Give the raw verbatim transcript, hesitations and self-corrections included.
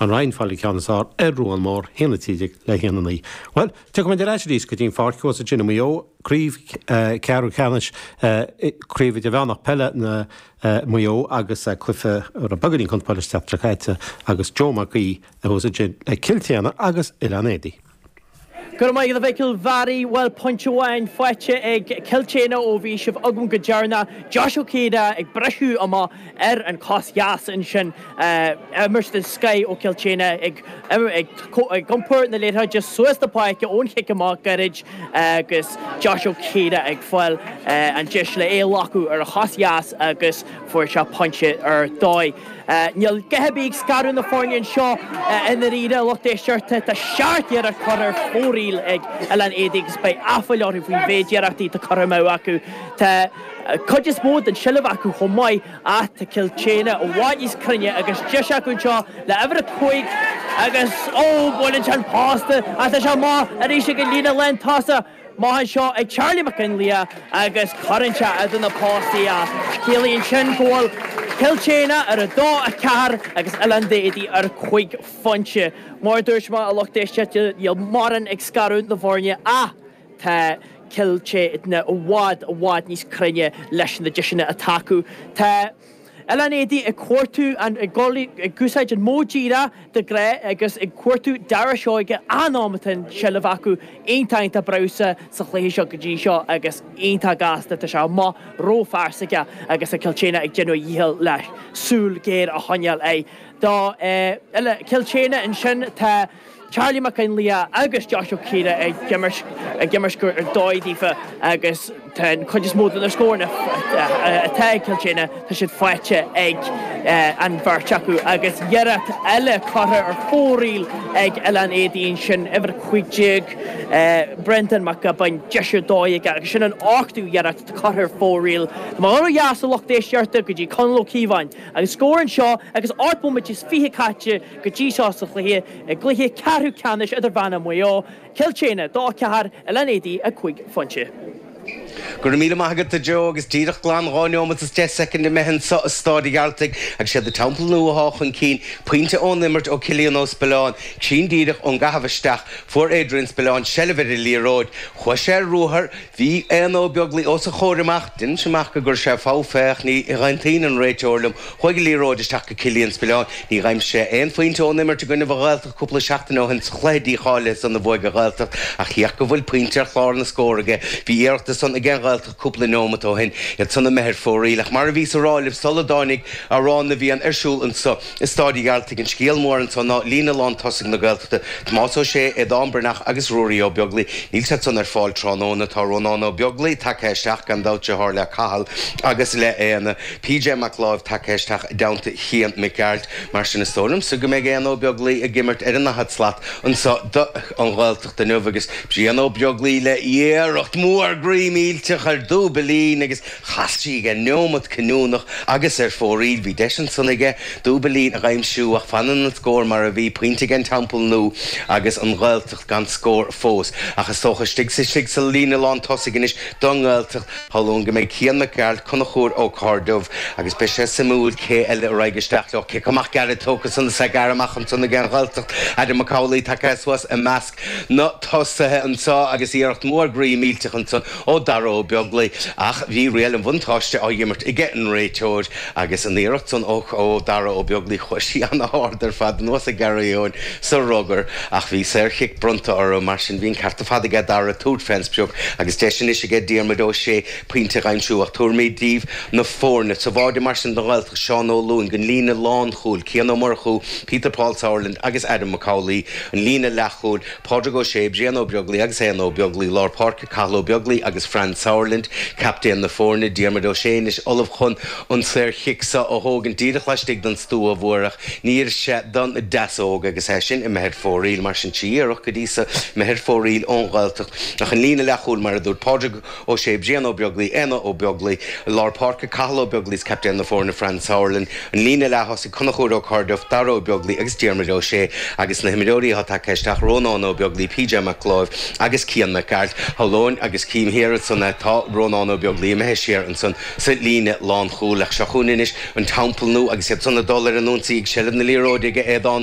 An Rinn fáil ceann is fearr ar Ruán Mór haon a trí déag le haon a naoi. Bhuel, tiocfaimid ar ais arís go dtí an pháirc thuas ansin i Maigh Eo, craobh ceathrú ceannais craobh idirmheánach peile na Maigh Eo agus cluiche a raibh beagáinín conspóide an tseachtain seo caite agus Joe Mac Aoidh thuas ansin le Cill tSéadhna agus Oileán Éadaí. Go raibh maith agat a Mhicil Bharry, bhuel pointe amháin faighte ag Cill tSéadhna ó bhí sibh agam go deireanach. Josh Ó Ciardha ag briseadh amach ar an chos dheas ansin. Imirt den scoth ó Chill tSéadhna ag ag iompar na liathróide suas na páirce ón chic amach gairid agus Josh Ó Ciardha ag fáil an deis le é a ghlacadh ar a chos dheas agus fuair sé pointe ar dóigh. Níl a dhath ar bith ag scaradh na foirne anseo i ndáiríre, a lucht éisteachta. Tá seacht iarracht curtha ar fóraoil ag Oileán Éadaí agus beidh aiféala orthu faoin mhéid iarrachtaí atá curtha amú acu. Tá cuid is mó den seilbh acu chomh maith ach tá Cill tSéadhna i bhfad níos cruinne agus deis acu anseo le uimhir a cúig agus ó buaileann sé an posta ach tá sé amach arís ag an líne lántosach. Maith anseo ag Charlie Mac Fhionnlaoich agus cuireann sé idir na postaí é. Ciallaíonn sin go bhfuil Cill tSéadhna ar a dó a ceathair agus Oileán Éadaí ar cúig phointe. Mar a dúirt mé a lucht éisteachta níl mórán ag scaradh na bhfoirne ach tá Cill tSéadhna i bhfad i bhfad níos cruinne leis na deiseanna atá acu. Tá Oileán Éadaí ag cuartú an ag ag úsáid an modh díreach de ghnáth agus ag cuartú Dara Seoige an am atá an seilbh acu iontach iontach breabhsa sa chluiche seo go dtí seo agus iontach gasta tá sé amach róphearsaithe agus Cill tSéadhna ag déanamh a dhícheall le súil géar a choinneáil air. Do Cill tSéadhna ansin tá Charlie Mac Fhionnlaoich agus Josh Ó Ciardha ag imirt ag imirt ar dóigh daofa agus tá an chuid is mó de na scóranna atá ag Cill tSéadhna tá siad faighte ag an bheirt acu agus iarracht eile curtha ar fóraoil ag Oileán Éadaí ansin uimhir cúig déag Brendan Mac Gabáin deis ar dóigh aige agus sin an ochtú iarracht curtha ar fóraoil. Má ó dheas a lucht éisteachta go dtí Conall Ó Cíobháin agus scór anseo agus ocht mbomaite is fiche caite go dtí seo sa chluiche i gcluiche ceathrú ceannais idirmheánach Mhaigh Eo, Cill tSéadhna dó ceathair Oileán Éadaí a cúig phointe. Go raibh míle maith agat a Joe agus díreach glan dhá neomat is deich soicind imithe anseo i Stáid an Ghearaltaigh agus siad an Teampall Nua atá chun cinn, pointe ón imirt ó Cillian Ó Spilleáin, cruinn díreach ón gcaitheamh isteach, fuair Adrian Spillane seilbh ar an liathróid, chuaigh sé ar ruathar, bhí Éanna Ó Beaglaoi os a chomhair amach, deinim amach go gcuir sé fogha féach, ní aontaíonn an réiteoir liom, chuaigh an liathróid isteach go Cillian Spillane, ní d'aimsigh sé aon phointe ón imirt i gcoinne an Ghaeltacht cúpla seachtain ó shin sa chluiche dícháilithe san a bhuaigh an Ghaeltacht ach féach go bhfuil pointe ar chlár na scór aige, bhí iarracht san ag an Ghaeltacht cúpla neomat ó shin, iad san imithe ar fóraoil ach mar a bhíos a rá libh sula dtáinig Amhrán na bhFiann ar siúl anseo i Stáid an Ghearaltaigh an scéal mór anseo ná líne lán tosaigh na Gaeltachta, Tomás Ó Sé, Aodán Breathnach agus Ruairí Ó Beaglaoi. Níl siad san ar fáil tráthnóna. Tá Rónán Ó Beaglaoi tagtha isteach gan dabht deartháir le Cathal agus le Éanna. PJ Mac Láimh tagtha isteach i dteannta Chian Mac Gearailt. Mar sin is dóigh liomsa go mbeidh Éanna Ó Beaglaoi ag imirt ar an ndaichead slat anseo do an Ghaeltacht inniu agus Brian Ó Beaglaoi le iarracht mhór groí millteach ar dúbailín agus chas sí ag an neomat cinniúnach agus ar fóraoil. Bhí deis ansan aige dúbailín a aimsiú ach fanann an scór mar a bhí, pointe ag an Teampall Nua agus an Ghaeltacht gan scór fós. Ach is dócha istigh sa istigh sa líne lán tosaigh anois don nGaeltacht, shamhlóinn go mbeidh Cian Mac Gearailt, Conchúr Ó Cairdeamh agus beidh sé suimiúil cé eile a raghaidh isteach leo. Cic amach gairid tógtha san is é gearrtha amach ansan ag an Ghaeltacht. Adam Mac Amhlaigh tagtha suas i measc na tosaithe anseo agus iarracht mhór groí millteach ansan ó Dara Ó Beaglaoi ach bhí riail an bhuntáiste á imirt aige an réiteoir agus an iarracht san ó ó Dara Ó Beaglaoi chuaigh sí an-ard ar fad anuas ag Gary Eoin sa rugar ach bhí saorchic bronnta orthu mar sin bhí an ceart ar fad aige Dara tabhairt fén sprioc agus deis anois aige Diarmuid Ó Sé pointe a aimsiú ach tabharfaimid daoibh na foirne sa bháide mar sin don Ghaeltacht Seán Ó Luain don líne lánchúil Cian Ó Murchú Peter Paul Sauerland agus Adam Mac Amhlaigh an líne leathchúil Pádraig Ó Sé Brian Ó Beaglaoi agus Éanna Ó Beaglaoi lár páirce Cathal Ó Beaglaoi agus Fran Sauerland captaen na foirne Diarmuid Ó Sé anois ullamh chun an saorchic seo a thógaint díreach laistigh den stua mhór ach níor sé don deasóg agus é sin imithe ar fóraoil mar sin trí iarracht go dtí seo imithe ar fóraoil ón Ghaeltacht ach an líne leathchúil mar a dúirt Pádraig Ó Sé Brian Ó Beaglaoi Éanna Ó Beaglaoi lár páirce Cathal Ó Beaglaoi is captaen na foirne Fran Sauerland an líne leath-thosaigh Conchúr Ó Cairdeamh Dara Ó Beaglaoi agus Diarmuid Ó Sé agus na himreoirí atá tagtha isteach Rónán Ó Beaglaoi PJ Mac Láimh agus Cian Mac Gearailt shamhlóinn agus cím thiar ansan Tá Rónán Ó Beaglaoich imithe siar ansan sa líne lánchúil ach seo chugainn anois an Teampall Nua agus iad san ag dul ar an ionsaí ag seilbh na liathróide ag Aodán